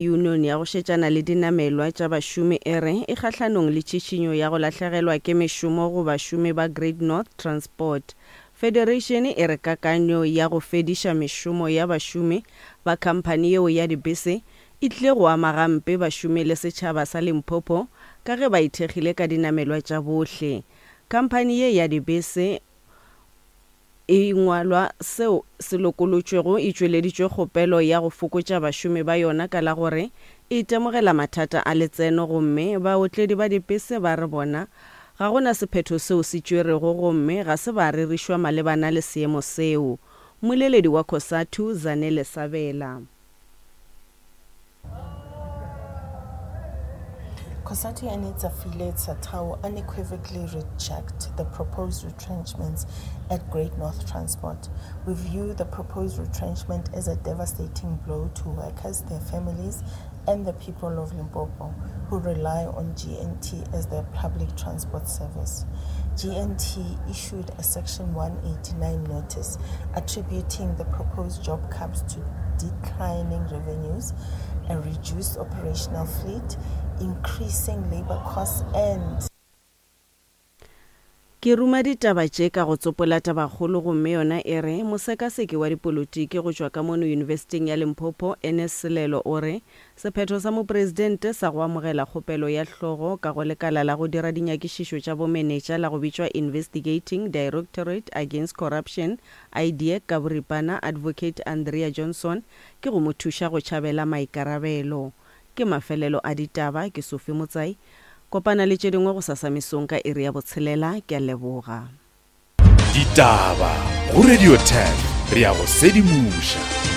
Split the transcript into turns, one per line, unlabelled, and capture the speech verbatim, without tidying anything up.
Yunione ya go šetšana le dinamelwa tša bašomi e re e kgahlanong le tšhišinyo ya go lahlegelwa ke mešomo go bašomi ba Great North Transport. Federation e re kakanyo ya go fediša mešomo ya bašomi ba khamphani yeo ya dibese e tlile go ama gampe bašomi le setšhaba sa Limpopo ka ge ba ithekgile ka dinamelwa tša bohle. Khamphani ye ya dibese e ngwalwa seo se lokolotšwego e tšweleditšwe kgopelo ya go fokotša bašomi ba yona ka la gore e itemogela mathata a letseno gomme baotledi ba dipese ba re bona ga gona sephetho seo se tšwerego gomme ga se ba rerišwa malebana le seemo seo. Mmoleledi wa Cosatu Zanele Sabela.
Cosatu and its affiliate SATAWU unequivocally reject the proposed retrenchments at Great North Transport. We view the proposed retrenchment as a devastating blow to workers, their families, and the people of Limpopo who rely on G N T as their public transport service. G N T issued a Section one eighty-nine notice attributing the proposed job cuts to declining revenues, a reduced operational fleet, increasing labor costs, and
Ke ruma ditaba tše ka go tsopola tabakgolo gomme yona e re mosekaseki wa dipolotiki go tšwa ka mono Yunibesithing ya Limpopo Ernest Selelo o re sephetho sa mopresidente sa go amogela kgopelo ya hlogo ka go lekala la go dira dinyakišišo tša bomenetša la go bitšwa Investigating Directorate Against Corruption, I D A C ka boripana, Advocate Andrea Johnson ke go mo thuša go tšhabela maikarabelo. Ke mafelelo a ditaba, ke Sophie Motsai. Kopana le tše dingwe go sasa mesong ka iri ya botshelela. Ke a leboga.
Ditaba go Radio ten, re ya go sedimoša.